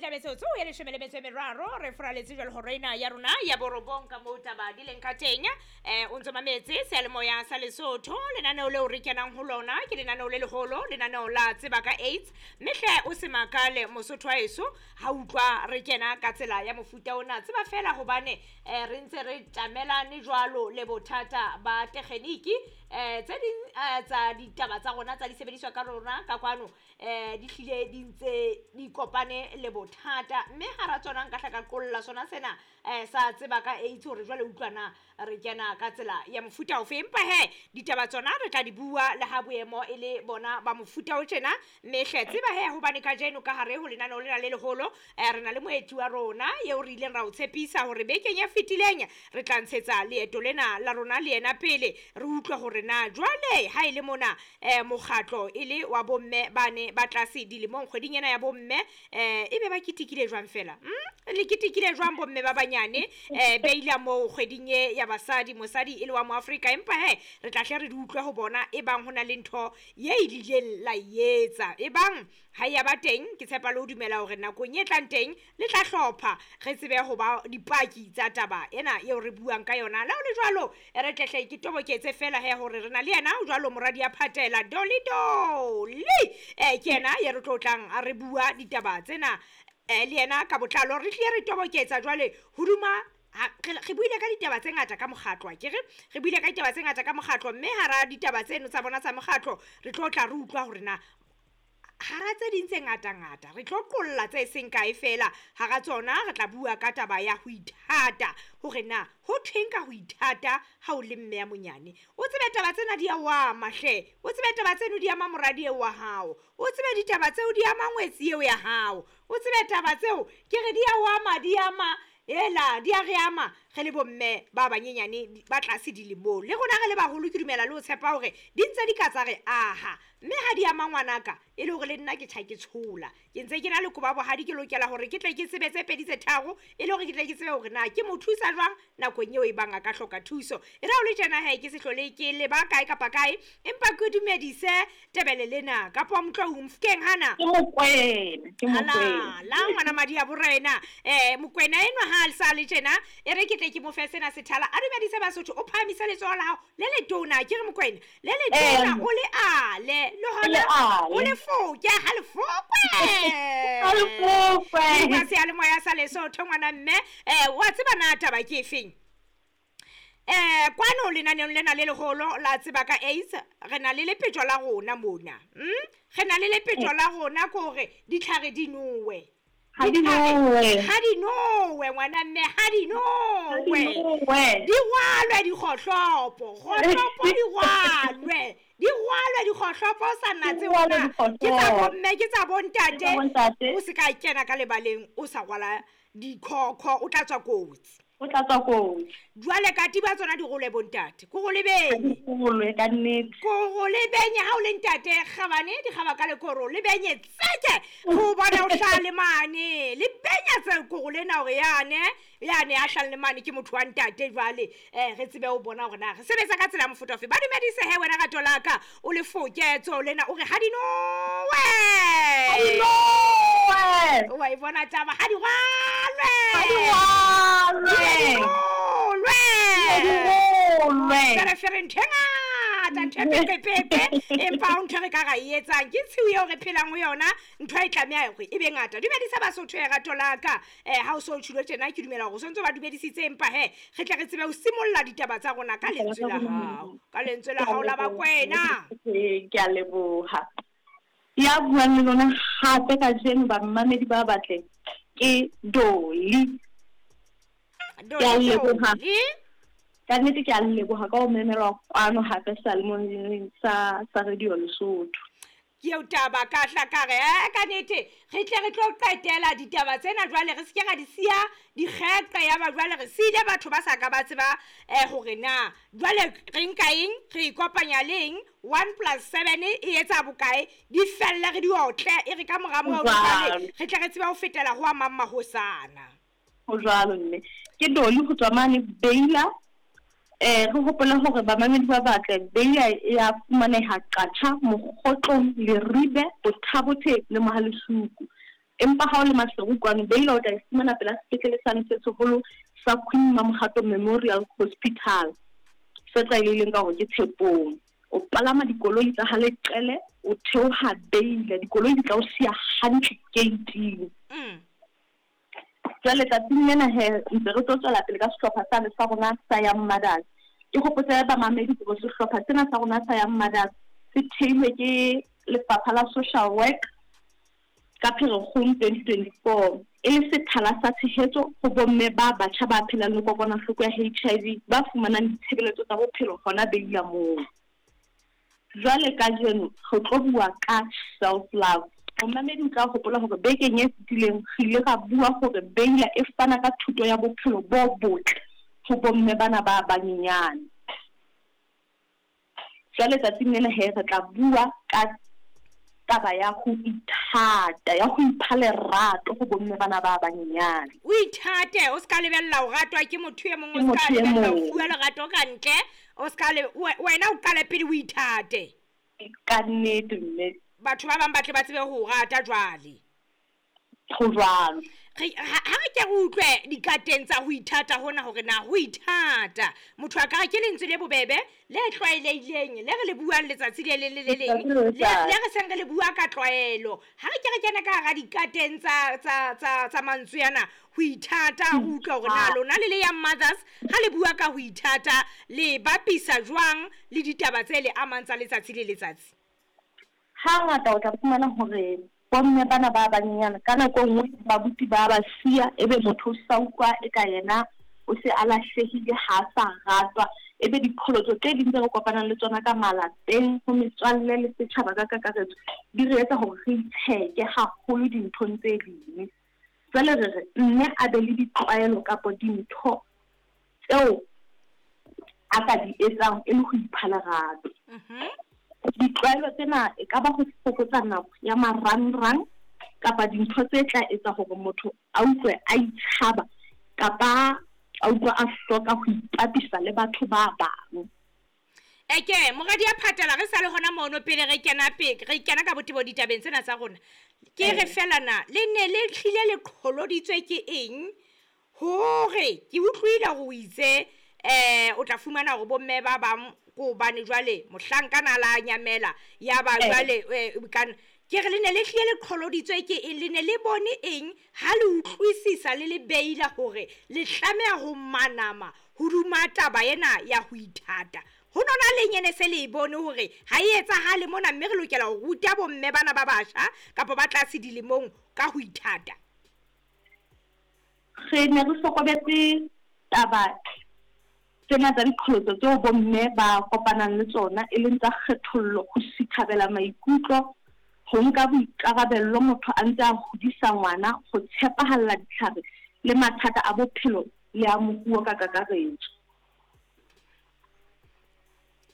Hantle metsotso e leshome le metso e meraro re furaletse jwale hora ena ya rona ya borobong ka moo taba di leng ka teng. O ntso mametse seyalemoya sa Lesotho, lenaneo leo re kenang ho lona ke lenaneo le leholo, lenaneo la Tseba ka AIDS. Mme hle o se makale Mosotho wa heso ha utlwa re kena ka tsela ya mofuta ona. Tseba fela hobane re ntse re tjamelane jwalo le bothata ba tekgeniki. Tse ding tsa ditaba tsa rona tsa disebediswa ka rona ka kwano di hlile di ntse di kopane le bothata, mme hara tsona nka hla ka qolla sona sena sa Tseba ka AIDS hore jwale utlwa na re kena ka tsela ya mofuta ofe. Empa he ditaba tsona re tla di bua le ha boemo e le bona ba mofuta o tjena. Mme hle tseba he hobane kajeno ka hare ho lenaneo lena le leholo re na le moeti wa rona eo re ileng ra o tshepisa hore bekeng e fetileng re tla ntshetsa leeto lena la rona le yena pele, re utlwe hore na jwale ha e le mona mokgatlo e le wa bomme bane ba tlase dilemong kgweding ena ya bomme ebe ba ketekile jwang fela. Le ketekile jwang bomme ba banyane beila moo kgweding e ya basadi, mosadi e le wa Moafrika. Empa he re tla hle re di utlwe ho bona e bang ho na le ntho ye e ileng la e etsa, e bang ha ya ba teng. Ke tshepa le ho dumela hore nakong e tlang teng le tla hlopha re tsebe ho ba dipaki tsa taba ena eo re buang ka yona. Le ha ho le jwalo, re tlehle ke toboketse fela he hore re na le yena jwalo moradi ya phatela Dolly Dolly. Ke yena ye re tlo tlang a re bua ditaba tsena le yena ka botlalo. Re hlile re toboketsa jwale hoduma re buile ka ditaba tse ngata ka mokgatlo, akere re buile ka ditaba tse ngata ka mokgatlo, mme hara ditaba tseno tsa bona tsa mokgatlo re tlo tla re utlwa hore na hara tse ding tse ngata-ngata re tlo qolla tse seng kae fela. Hara tsona re tla bua ka taba ya ho ithata, hore na ho thweng ka ho ithata ha o le mme ya monyane. O tsebe taba tsena di a o ama hle, o tsebe taba tseno di ama moradi eo wa hao, o tsebe ditaba tseo di ama ngwetsi eo ya hao, o tsebe taba tseo ke re di a o ama, di ama ela, di a re ama re le bomme ba banyenyane ba tlase dilemong. Le rona re le baholo ke dumela le ho tshepa hore di ntse di ka tsa re aha, mme ha di ama ngwanaka e le hore le nna ke tjha ke tshola, ke ntse ke na le koba bohadi, ke lokela hore ke tle ke sebetse pedi tse tharo e le hore ke tle ke tsebe hore na ke mo thusa jwang nakong eo e bang a ka hloka thuso. E re ha o le tjena he ke se hlole ke leba kae kapa kae, empa ke dumedise Tebele lena kapa Motloung Mofokeng hana. Ke Mokwena, ke Mokwena. Ala, la ngwana madi a borena. Mokwena enwa ha a sa le tjena, e re ke tle ke mo fe sena sethala. A dumedise Basotho, o phahamise letsoho la hao le letona, ke re Mokwena, le letona o le ale, le hona o le foke, ha le fokwe. Ha le fokwe. Ke seyalemoya sa Lesotho ngwana mme. Wa tseba na taba ke efeng? Kwano lenaneong lena le leholo la Tseba ka AIDS, re na le lepetjo la rona mona. Re na le lepetjo la rona ke hore ditlhare di nowe. Ha di nowe. Ha di nowe ngwana mme, ha di nowe. Di nowe. Di rwalwe dikgohlopo, kgohlopo di rwalwe. Di rwalwe dikgohlopo sa natse Di rwalwe hona. dikgohlopo. Ke tsa bomme, ke tsa bontate. Ke tsa bontate. O se ka kena ka lebaleng o sa rwala dikhokho, o tla tswa kotsi. O tla tswa kotsi. Jwale katiba tsona di role bontate. Ko go lebenye. Ko go le ka nnete. Ko go lebenye ha o le ntate kgabane di kgaba ka lekoro, lebenye tseke go bona o hlaha le mane. Lebenya tse ko go lena hore yane, yane ya hlahang le mane ke motho wa ntate jwale. Re tsebe ho bona hore na re sebetsa ka tsela ya mofuta ofe. Ba dumedise he wena rato la ka, o le foketso lena o re ha di nowe. Ha di nowe. Wa e bona taba, ha di rwalwe. Ha di rwalwe. Di rwalwe. Fere fere ntho e ngata, ntho e pepepepe, empa ha o ntho e re ka ra e etsang, ke tshiu eo re phelang ho yona, ntho e tlameha hore e be ngata. Dumedisa Basotho e rato la ka. Ha o so tjhilo tjena, ke dumela hore o sontso ba dumedisitse, empa he, re tle re tsebe ho simolla ditaba tsa rona ka lentswe la hao. Ka lentswe la hao la Bakwena. Ke a leboha. Ya buang le lona hape kajeno bamamedi ba batle ke Dolly. Dolly, Ke a leboha. Dolly. Ka nnete ke a leboha ka ho memelwa kwano hape seyalemoyeng sa Radio Lesotho. Ke eo taba ka hla ka re, ka nnete re tle re tlo qetela ditaba tsena jwale, re se ke ra di siya dikgeqe ya ba jwale re siile batho ba sa ka ba tseba hore na jwale re nka eng, re ikopanya le eng, 1 plus 7 e etsa bokae, di felle re di otle, e re ka mora moo jwale re tle re tsebe ho fetela ho a mang mahosana. Ho jwalo mme. Ke Dolly ho tswa mane Beila. Re hopola hore bamamedi ba batle Beila e a fumaneha Qacha, Mokgotlong, Leribe, Bothabothe le Mohalesuku. Empa ha o le Maseru kwano, Beila o tla e fumana pela sepetlele sane se seholo sa Queen Mamohato Memorial Hospital, se tlwaelehileng ka hore ke Tshepong. O palama dikoloi tsa ha Leqele, o theoha Beila, dikoloi di tla o siya hantle keiting. Jwale tsatsing lena he, ntse re tlo tswela pele ka sehlopha sane sa rona sa Young Mothers. Ke hopotse bamamedi hore sehlopha sena sa rona sa Young Mothers se theilwe ke Lefapha la Social Work ka Pherekgong 2024 e le sethala sa tshehetso ho bomme ba batjha ba phelang le kokwanahloko ya HIV ba fumanang ditshebeletso tsa bophelo hona Beila moo. Jwale kajeno re tlo bua ka self love. Momamedi o tla hopola hore bekeng e fetileng re ile ra bua hore Beila e fana ka thuto ya bophelo bo botle ho bomme bana ba banyenyane. Jwale tsatsing lena he re tla bua ka taba ya ho ithata, ya ho ipha lerato ho bomme bana ba banyenyane. O ithate, o ska lebella ho ratwa ke motho e mong, o ska lebella ho fuwa lerato ka ntle, o ska le wena o qale pele o ithate. Ka nnete mme. Batho ba bang ba tle ba tsebe ho o rata jwale. Ho jwalo. Re ha re ke re utlwe dikateng tsa ho ithata hona hore na ho ithata motho a ka re ke lentswe le bobebe le tlwaelehileng le re le buang letsatsi le leng le le leng le re seng re le bua ka tlwaelo. Ha re ke re kene ka hara dikateng tsa tsa tsa tsa mantswe ana ho ithata, re utlwe hore na lona le le Young Mothers ha le bua ka ho ithata le bapisa jwang le ditaba tse le amang tsa letsatsi le letsatsi. Hangata o tla fumana hore bomme bana ba banyenyane ka nako e nngwe babuti ba ba siya, ebe motho o sa utlwa eka yena o se a lahlehile, ha a sa ratwa. Ebe diqholotso tse ding tse re kopanang le tsona ka malapeng, ho metswalle le setjhaba ka kakaretso, di re etsa hore re itsheke haholo dinthong tse ding. Jwale re re mme a be le ditlwaelo kapa dintho tseo a ka di etsang e le ho ipha lerato. Ditlwaelo tsena e ka ba ho fokotsa nako ya marangrang kapa dintho tse tla etsa hore motho a utlwe a itshaba kapa a utlwa a hloka ho ipapisa le batho ba bang. Eke, moradi ya phatela, re sa le hona mono pele re kena pe, re kena ka botebo ditabeng tsena tsa rona. Ke re fela na, le ne le hlile le qholoditswe ke eng hore ke utlwile hore o itse o tla fumana hore bomme ba bang ke hobane jwale mohlankana la nyamela ya ba jwale kana ke re le ne le hlile le qholoditswe ke eng, le ne le bone eng ha le utlwisisa le le beila hore le tlameha ho manama hoduma taba ena ya ho ithata. Ho nona le nyene se le bone hore ha e etsahale mona, mme re lokela ho ruta bomme bana ba batjha kapa ba tlase dilemong ka ho ithata. Re ne re hlokometse taba tsena tsa diqholotso tseo bomme ba kopanang le tsona, e leng tsa kgethollo, ho sithabela maikutlo, ho nka boikarabello motho a ntse a hodisa ngwana, ho tshepahalla ditlhare le mathata a bophelo le a moruo ka kakaretso.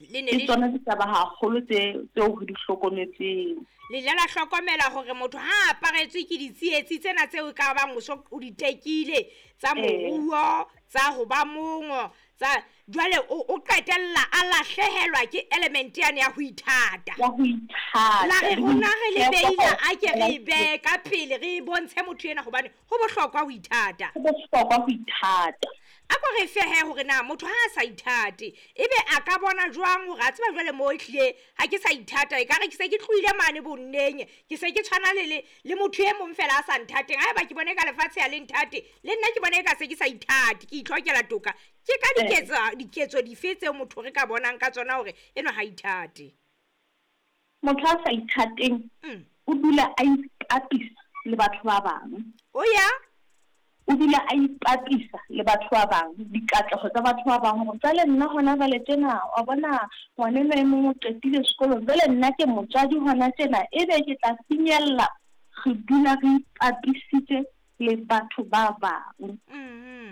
Ke tsona ditaba haholo tseo re di hlokometseng. Le ile la hlokomela hore motho ha aparetswe ke ditsietsi tsena tseo ka bang o so o di tekile tsa moruo, tsa ho ba mongo, tsa jwale o qetella a lahlehelwa ke element yane ya ho ithata. Ya ho ithata. La re rona re le beila a ke re be ka pele re bontshe motho ena hobane ho bohlokwa ho ithata. Ho bohlokwa ho ithata. A ko re fehe hore na motho ha a sa ithate ebe a ka bona jwang hore a tseba jwale mo ehlile ha ke sa ithata, e ka re ke se ke tlohile mane bonneng, ke se ke tshwana le motho e mong fela a sa nthateng. Haeba ke bone ka lefatshe ha le nthate, le nna ke bone ka se ke sa ithate, ke itlhokela toka. Ke ka diketso dife tseo motho re ka bonang ka tsona hore enwa ha ithate? Motho a sa ithateng o dula a ipapisa le batho ba bang. O ya o dula a ipapisa le batho ba bang, dikatleho tsa batho ba bang, hore jwale nna hona jwale tjena, wa bona ngwanenwa e mong o qetile sekolong, jwale nna ke motswadi hona tjena, ebe ke tla finyella. Re dula re ipapisitse le batho ba bang.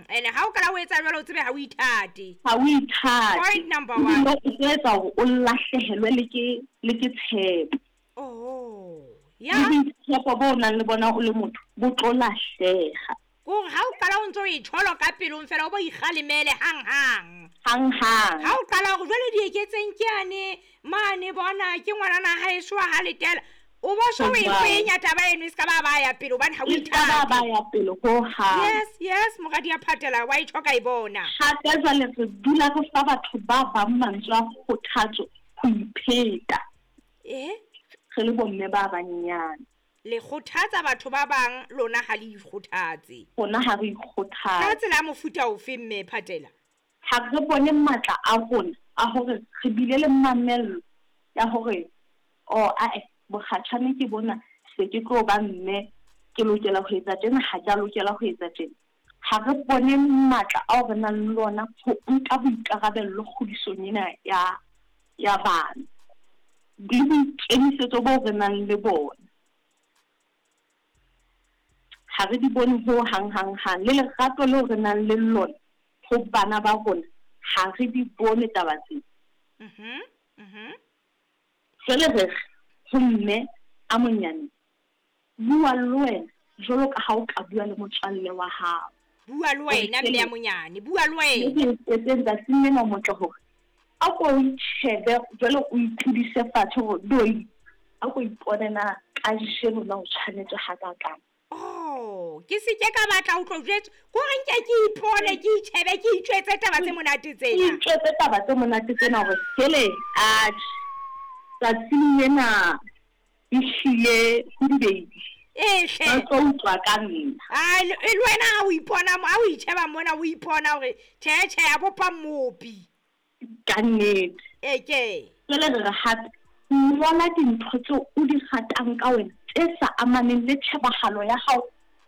Ene ha o kala o etsa jwalo o tsebe ha o ithate. Ha o ithate. Point number 1. O etsa hore o lahlehelwe le ke tshepo. Oh. Ya. Le boitshepo bo nang le bona o le motho bo tlo lahleha. Hore ha o qala o ntso o itsholo ka pelong fela o bo ikgalemele hang-hang. Hang-hang. Ha o qala hore jwale di eketseng ke ane, mane bona ke ngwanana ha e shwa ha letela. O bo so o e kwenya taba eno e se ka ba ba ya pele hobane ha o ithate. Ba ya pele ho hang. Yes, yes, moradi ya Phatela wa e tjho ka e bona. Hape jwale re dula re fa batho ba bang mantswe a kgothatso ho ipheta. Eh? Re le bomme ba banyenyane. Le kgothatsa batho ba bang lona ha le ikgothatse. Rona ha re ikgothatse. Ka tsela ya mofuta ofe mme Phatela? Ha re bone matla a rona a hore re bile le mamello ya hore oh ae bokgatjhane ke bona se ke tlo ba mme ke lokela ho etsa tjena ha ke a lokela ho etsa tjena. Ha re bone matla ao re nang le ona ho nka boikarabello kgodisong ena ya ya bana le boikemisetso boo re nang le bona. Ha re di bone ho hang hang hang le lerato leo re nang le lona ho bana ba rona ha re di bone taba tsena. Jwale re re ho mme a monyane, bua le wena jwalo ka ha o ka bua le motswalle wa hao. Bua le wena mme a monyane, bua le wena. Mme ke etseng tsatsing lena o motle hore a ko o itjhebe jwale o itlodise fatshe hore doi a ko ipone na kajeno na o tshwanetswe hakakang. Oh, ke se ke ka batla ho tlo jwetswa ko re nke ke ipone ke itjhebe ke itjwetse taba tse monate Ke tsena. itjwetse taba tse monate tsena hore hele atjhe tsatsing lena ehlile ho dibedi Ee ba hle. tlo utlwa ka nna. Ai le le wena ha o ipona ha o itjheba mona o ipona hore tjhe tjhe a bopa mmopi. Ka nnete. E ke. Jwale re re hape ngola dintho tseo o di ratang ka wena tse sa amaneng le tjhebahalo ya hao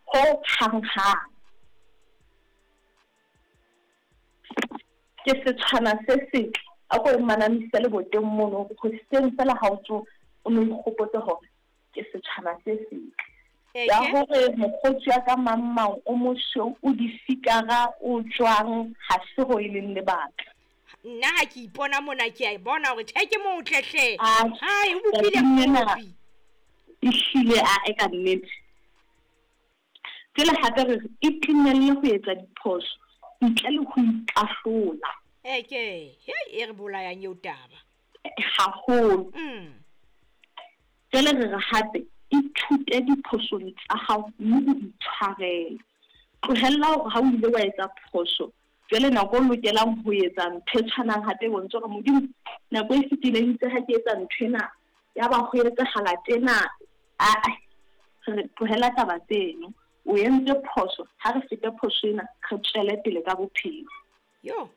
ho hang hang. Ke setshwana se setle a ko manamise leboteng mono hore hoseng fela ha o tsoha o no ikgopotse hore ke setshwana se setle. Ya hore mokgotsi wa ka mang mang o mosweu o difikara o jwang ha se ho e leng lebaka. Nna ha ke ipona mona ke a e bona hore tjhe ke motle hle. Atjhe, Hai o bopile tsatsing lena mmopi. ehlile a e ka nnete. Jwale hape re re itumelle ho etsa diphoso ntle le ho ikahlola. E ke, hei e re bolayang eo taba. Haholo. Jwale re re hape ithute diphosong tsa hao mme o itshwarele. Tlohella hore ha o ile wa etsa phoso jwale nako o lokelang ho etsa ntho e tshwanang hape e bontshe hore Modimo nako e fetileng itse ha ke etsa ntho ena ya ba ho etsahala tjena ae re tlohela taba tseno. O entse phoso ha re fete phoso ena re tswele pele ka bophelo. Yo.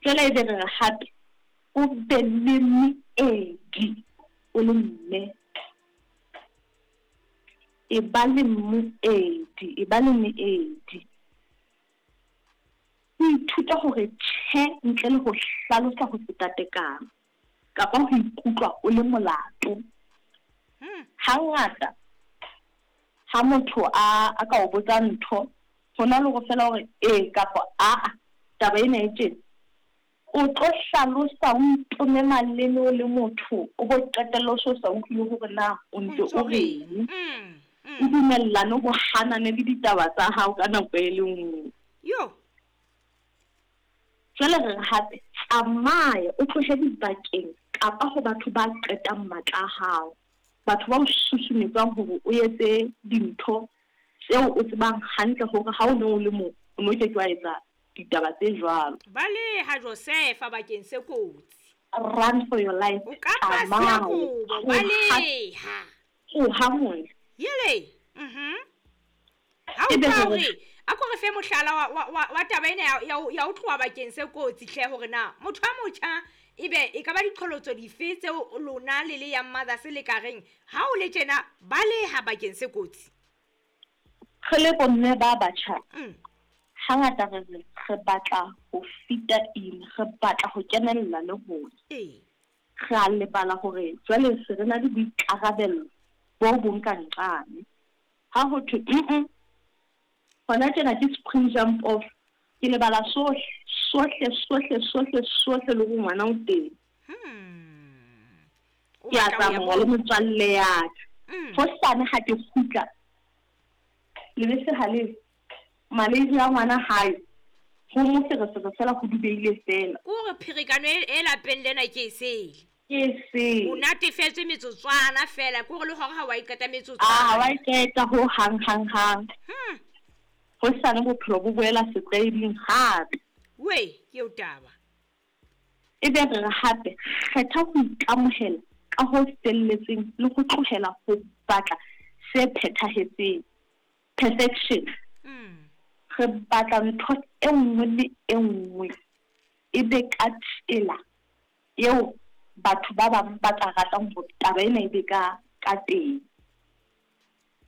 Jwale ebe re re hape o be le meedi o le mme. E ba le moedi, e ba le meedi. O ithuta hore tjhe ntle le ho hlalosa ho feta tekano kapa ho ikutlwa o le molato. Hangata ha motho a ka o botsa ntho hona le hore fela hore ee kapa aa taba ena e tjena o tlo hlalosa o itome maleme o le motho o bo qetella o so sa utlwile hore na o ntse o reng. O dumellane ho hanane le ditaba tsa hao ka nako e le nngwe. Yo. Jwale re re hape tsamaya o tlohe dibakeng kapa ho batho ba qetang matla a hao. Batho ba o susumetsang hore o etse dintho tseo o tsebang hantle hore ha o ne o le moo o no ke ke wa etsa ditaba tse jwalo. Baleha Josefa bakeng se kotsi. Run for your life. O ka pa siya kobo, baleha. Tsoha mona. Yele. Ha o tla hore a ko re fe mohlala wa taba ena ya o tloha bakeng se kotsi hle hore na motho a motjha ebe e ka ba diqholotso dife tseo lona le le Young Mothers le ka reng ha o le tjena baleha bakeng se kotsi. Re le bomme ba batjha. Hangata re re batla ho fita in, re batla ho kenella le rona. Re a lebala hore jwale se re na le boikarabello bo bong ka nqane. Ha ho thwe hona tjena ke spring jump off ke lebala sohle sohle sohle sohle sohle le hore ngwana o teng. Ke a tsamaya le motswalle ya ka. Hosane ha ke kgutla lebese ha le malezi a ngwana hae ho moferefere fela ho dubeile fela. Ke hore pherekano e lapeng lena ke e sele. Ke seng. O natefetswe metsotswana fela, ke hore le hore ha wa e qeta A metsotswana. wa e qeta ho hang hang hang. Hosane bophelo bo boela setlwaeding hape. We, ke eo taba. Ebe re re hape kgetha ho ikamohela ka ho felletseng le ho tlohela ho batla se phethahetseng, perfection. Re batla ntho e nngwe le e nngwe e be ka tsela eo batho ba bang ba ka ratang hore taba ena e be ka ka teng.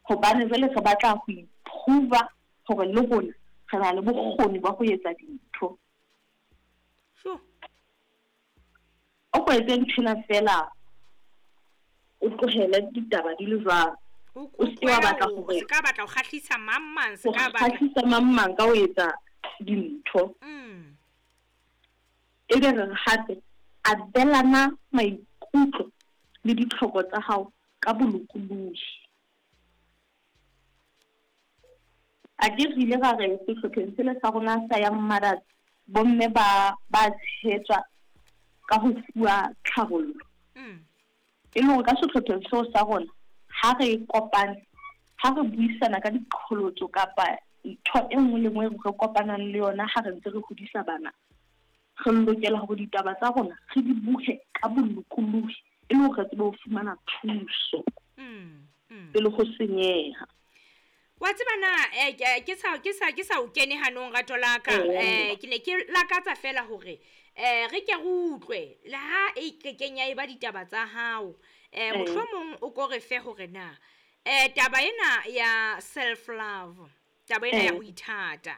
Hobane jwale re batla ho iprova hore le rona re na le bokgoni ba ho etsa dintho. Sure. O ko etse nthwena fela, o tlohele ditaba di le jwalo. O se ke wa batla hore Se ka batla ho kgahlisa mang mang, se ho ka batla kgahlisa mang mang ka ho etsa dintho. Ebe re re hape abelana maikutlo le ditlhoko tsa hao ka bolokolohi. A ke re ile ra re sehlopheng sele sa rona sa Young Mothers, bomme ba ba tshehetswa ka ho fuwa tlhabollo. E le hore ka sehlopheng seo sa rona ha re kopane, ha re buisana ka diqholotso kapa ntho e nngwe le nngwe re kopanang le yona ha re ntse re hodisa bana, re lokela hore ditaba tsa rona re di buhe ka bolokolohi e le hore re tsebe ho fumana thuso pele ho senyeha. Wa tseba na ke sa o kene hanong, rato la ka, ke ne ke lakatsa fela hore re ke re utlwe le ha e kekeng ya e ba ditaba tsa hao, mohlomong o ko re fe hore na taba ena ya self love, taba ena ya ho ithata,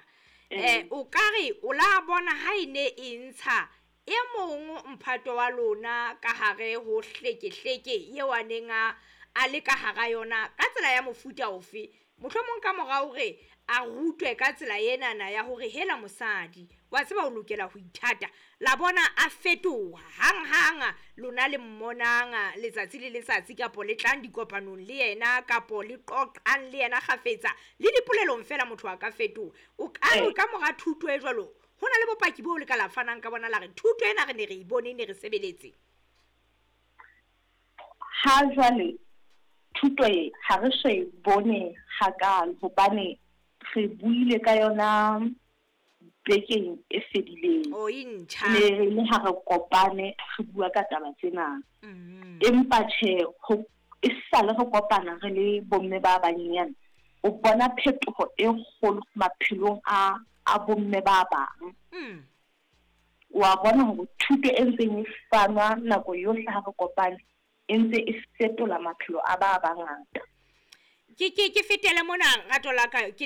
o ka re o la bona ha e ne e ntsha e mong mphato wa lona ka hare ho hlekehleke eo a neng a le ka hara yona ka tsela ya mofuta ofe, mohlomong ka mora hore a rutwe ka tsela enana ya hore hela mosadi wa tseba o lokela ho ithata, la bona a fetoha hang-hang, lona le mmonang letsatsi le letsatsi kapo le tlang dikopanong le yena kapo le qoqang le yena kgafetsa le dipolelong fela, motho a ka fetoha? O ka re ka mora thuto e jwalo ho na le bopaki boo le ka la fanang ka bona la re thuto ena re ne re e bone, e ne re sebeletse? Ha jwale thuto e ha re so e bone hakalo, hobane re buile ka yona bekeng e fedileng. O e ntjha. Ne re le ha re kopane re bua ka taba tsena. Empa tjhe, ho e sale re kopana re le bomme ba banyenyane, o bona phetoho e kgolo maphelong a bomme ba bang. Wa bona hore thuto e ntseng e fanwa nako yohle ha re kopane e ntse e fetola maphelo a ba bangata. Ke fetele mona, rato la ka, ke